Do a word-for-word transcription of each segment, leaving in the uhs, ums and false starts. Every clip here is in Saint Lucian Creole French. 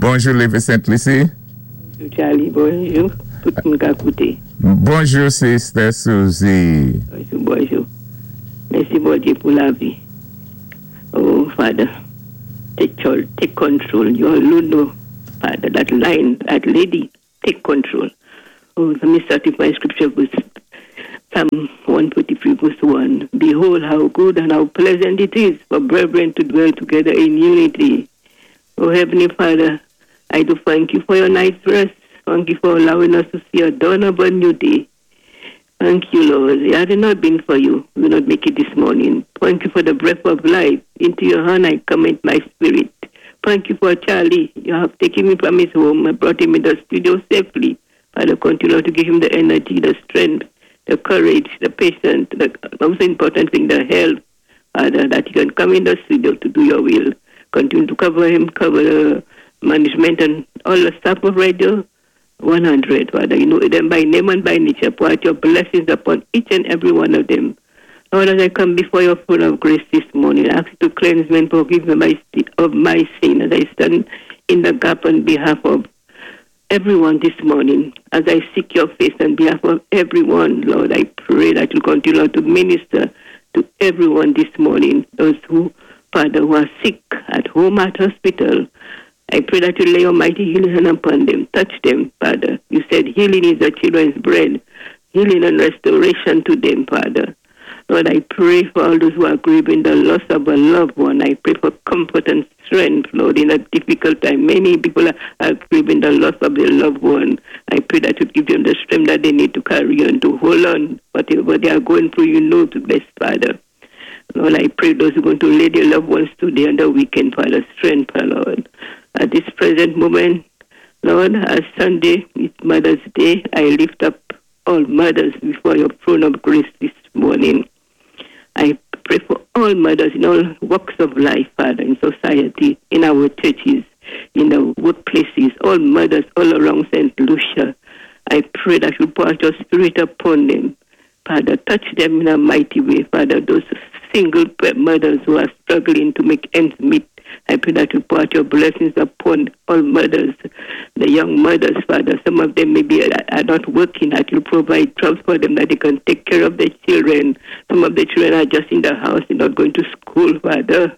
Bonjou, Lévé Sainte Lucie. Bonjou, Charlie. Bonjou, tout moun k ap kouté. Bonjou, Sister Susie. Bonjou, bonjou. Mèsi, Bondyé, pou lavi. Oh, Father, take charge, take control. You alone know, Father, that line, that lady, take control. Oh, let me start with my scripture verse, Psalm one forty-three, verse one. "Behold, how good and how pleasant it is for brethren to dwell together in unity." Oh, Heavenly Father, I do thank you for your night's rest. Thank you for allowing us to see a dawn of a new day. Thank you, Lord. Had it not been for you, we would not make it this morning. Thank you for the breath of life. Into your hand I commit my spirit. Thank you for Charlie. You have taken me from his home and brought him in the studio safely. Father, continue to give him the energy, the strength, the courage, the patience, the most important thing, the health, Father, that he can come in the studio to do your will. Continue to cover him, cover the management and all the staff of Radio one hundred, Father. You know them by name and by nature. Pour out your blessings upon each and every one of them. Lord, as I come before your throne of grace this morning, I ask you to cleanse me and forgive me my, of my sin as I stand in the gap on behalf of everyone this morning. As I seek your face on behalf of everyone, Lord, I pray that you continue to minister to everyone this morning. Those who, Father, who are sick at home, at hospital, I pray that you lay your mighty healing hand upon them. Touch them, Father. You said healing is the children's bread. Healing and restoration to them, Father. Lord, I pray for all those who are grieving the loss of a loved one. I pray for comfort and strength, Lord, in a difficult time. Many people are, are grieving the loss of their loved one. I pray that you give them the strength that they need to carry on, to hold on. Whatever they are going through, you know the best, Father. Lord, I pray those who are going to lay their loved ones today on the weekend, Father, strength, Lord. At this present moment, Lord, as Sunday is Mother's Day, I lift up all mothers before your throne of grace this morning. I pray for all mothers in all walks of life, Father, in society, in our churches, in the workplaces, all mothers all around Saint Lucia. I pray that you pour out your spirit upon them. Father, touch them in a mighty way. Father, those single mothers who are struggling to make ends meet, I pray that you pour out your blessings upon all mothers, the young mothers, Father. Some of them maybe are not working, that you provide jobs for them that they can take care of their children. Some of the children are just in the house, they're not going to school, Father.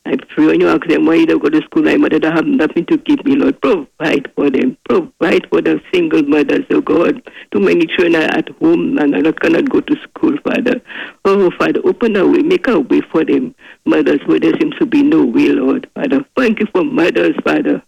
I pray when you ask them why you don't go to school, my mother don't have nothing to give me, Lord. Provide for them. Provide for the single mothers, oh God. Too many children are at home and are not cannot go to school, Father. Oh, Father, open a way, make a way for them. Mothers where there seems to be no way, Lord. Father, thank you for mothers, Father.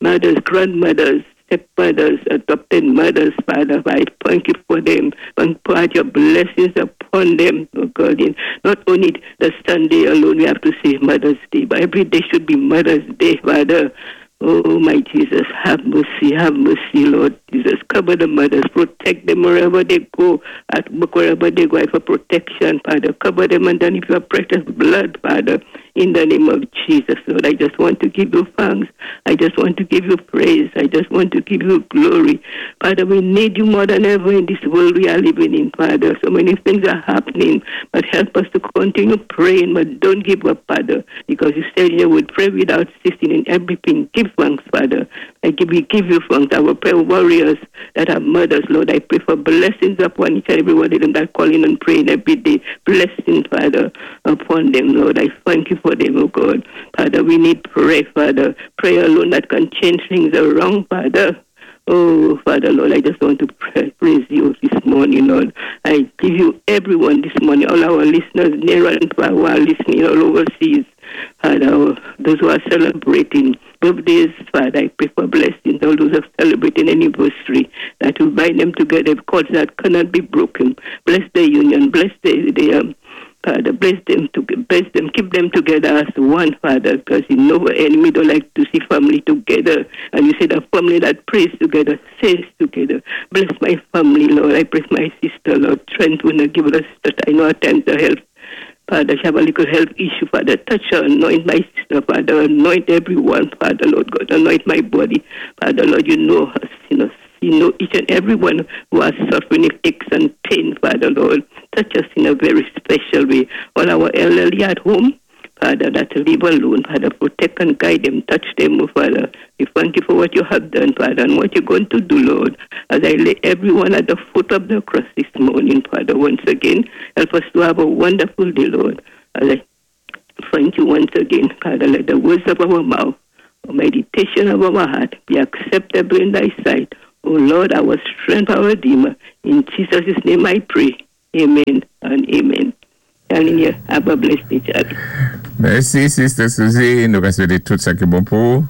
Mothers, grandmothers, stepmothers, adopted mothers, Father. I thank you for them and pour out your blessings upon them, oh God. In not only the Sunday alone we have to say Mother's Day, but every day should be Mother's Day, Father. Oh, my Jesus, have mercy, have mercy, Lord Jesus. Cover the mothers, protect them wherever they go, at work, wherever they go, for protection, Father. Cover them underneath your precious blood, Father, in the name of Jesus, Lord. I just want to give you thanks. I just want to give you praise. I just want to give you glory. Father, we need you more than ever in this world we are living in, Father. So many things are happening, but help us to continue praying, but don't give up, Father, because you said you would pray without ceasing in everything. Give thanks, Father. I give, we give you thanks. Our prayer warriors that are mothers, Lord, I pray for blessings upon each and every one of them that calling and praying every day. Blessings, Father, upon them, Lord. I thank you for them, oh God. Father, we need prayer, Father. Prayer alone that can change things around, Father. Oh, Father, Lord, I just want to pray, praise you this morning, Lord. I give you everyone this morning, all our listeners near and far who are listening all overseas. Father, those who are celebrating birthdays, Father, I pray for blessings. All those who are celebrating anniversary, that will bind them together, cords that cannot be broken. Bless the union, bless the, the um, Father, bless them, to, bless them, keep them together as one, Father, because you know the enemy don't like to see family together. And you say the family that prays together, stays together. Bless my family, Lord. I bless my sister, Lord. Strength when I give us that I know at times to help. Father, she have a little health issue, Father. Touch her, anoint my sister, Father. Anoint everyone, Father, Lord God. Anoint my body. Father, Lord, you know us, you know, you know each and every one who are suffering aches and pain, Father, Lord. Touch us in a very special way. All our elderly at home, Father, that live alone. Father, protect and guide them, touch them, oh Father. We thank you for what you have done, Father, and what you're going to do, Lord. As I lay everyone at the foot of the cross this morning, Father, once again, help us to have a wonderful day, Lord. As I thank you once again, Father, let the words of our mouth, our meditation of our heart be acceptable in thy sight. O Lord, our strength, our Redeemer. In Jesus' name I pray. Amen and amen. Telling you, have a blessed day, Charlie. Mèsi, Sister Suzy. Nou ka swété tout sa ki bon pou ou.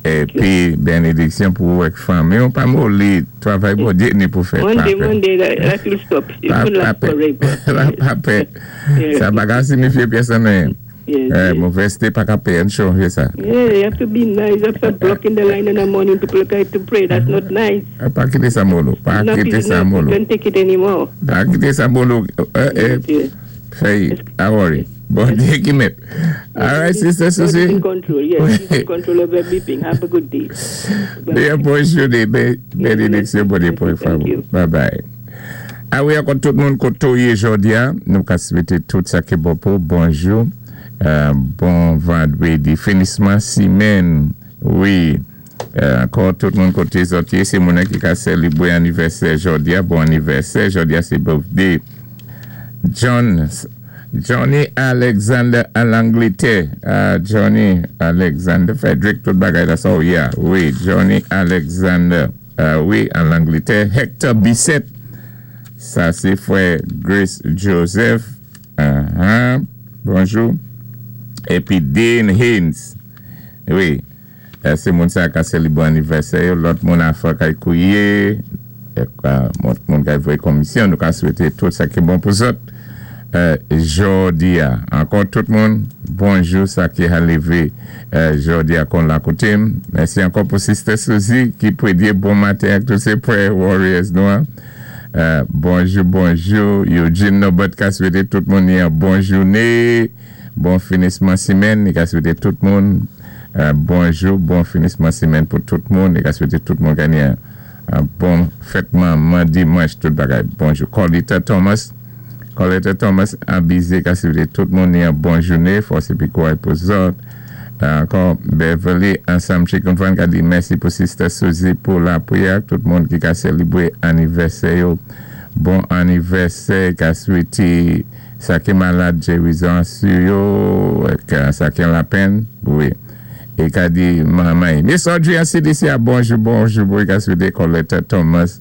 Épi, bénédiksyon pou ou ak fanmi. On pa moli, travay Bondyé ni pou fè. One day, one day, that, that will stop. It won't last forever. Pa pè. Sa pa ka signifié pyès anyen. Yes, yes. Movèzté pa ka péyé chonjé sa. Yeah, you have to be nice. You have to blocking the line in the morning. People try to pray. That's not nice. Pa kité sa molo. Pa Enough kité is sa enough. molo. We can't take it anymore. Pa kité sa molo. Eh, eh. Yes, yes. Fèy, pa worry. Bondyé ki mèt. All right, Sister God is Susie. in control. Yes, he's in control of everything. Have a good day. Bye. Byen bonjou, bénédiksyon Bondyé pou Thank you. Bye bye. A wi, ankò tout moun koté ou yé jòdi a, nou ka swété tout sa ki bon pou bonjou. Euh, bon vandwédi, finisman simèn. Wi. Euh, ankò tout moun koté zòt yé, sé moun ki ka sélébwé anivèsè jòdi a, bon anivèsè, jòdi a sé birthday. John Johnny Alexander an Langlétè. Uh, Johnny Alexander Frederick, tout bagay la sa, oh yeah. Wi, Johnny Alexander. Uh, wi, an Langlétè. Hector Bissett. Sa, sé frè Grace Joseph. Uh-huh. Bonjou. Épi Dane Haynes. Wi. Euh, sé moun sa ka sélébwé anivèsè. Lòt moun afè kay kouwiyé. Moun moun kay voyé komisyon. Nou ka swété tout sa ki bon pou zòt. Euh, jòdi a. Ankò tout moun, bonjou sa ki a lévé euh, jòdi a kon la koté. Mèsi ankò pou Sister Suzy ki prédé bon maten ak tout sé prayer warriors nou. Hein. Euh, bonjou, bonjou. Eugene Nobot ka swété tout moun yon bon jouné, bon finisman simèn. Li ka swété tout moun euh, bonjou, bon finisman simèn pou tout moun. Li ka swété tout moun genyen yon bon fètman dimanch, tout bagay. Bonjou. Colita Thomas. Coletta Thomas abizé ka swété tout moun yon bon jouné, fòs épi kouway pou zòt. Ankò Beverly ansanm Chicken Fan ka di mèsi pou Sister Suzy pou lapriyè, tout moun ki ka sélébwé anivèsè yo. Bon anivèsè, ka swété sa ki malad gérizon sou yo, sa ki an lapenn, wi. É ka di manman. Miss Audrey an C D C a bonjou, bonjou, bon, ka swété Coletta Thomas,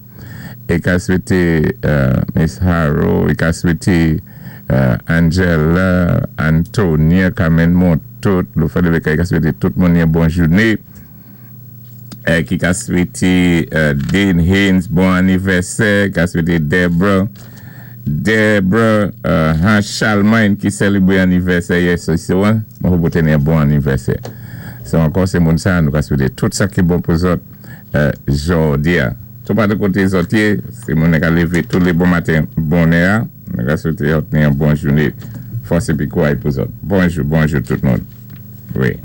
é ka swété uh, Miss Harrow, é ka swété uh, Angela, Antonia, Carmen Montot, lò fè de ka swété tout moun yon bon jouné. É ki ka swété uh, Dane Haynes, bon anivèsè, ka swété Deborah, Deborah uh, Hans Charlemagne ki sélébwé anivèsè yè swa, mwen pou téni bon anivèsè. So ankò sé moun sa, nou ka swété tout sa ki bon pou zòt uh, jòdi a. Tout pa de koté zòt yé, sé moun ka lévé tout lé bon maten bonè a, nou ka swété yon bon jouné, fòs épi kouway pou zòt. Bonjou, bonjou tout moun. Wi.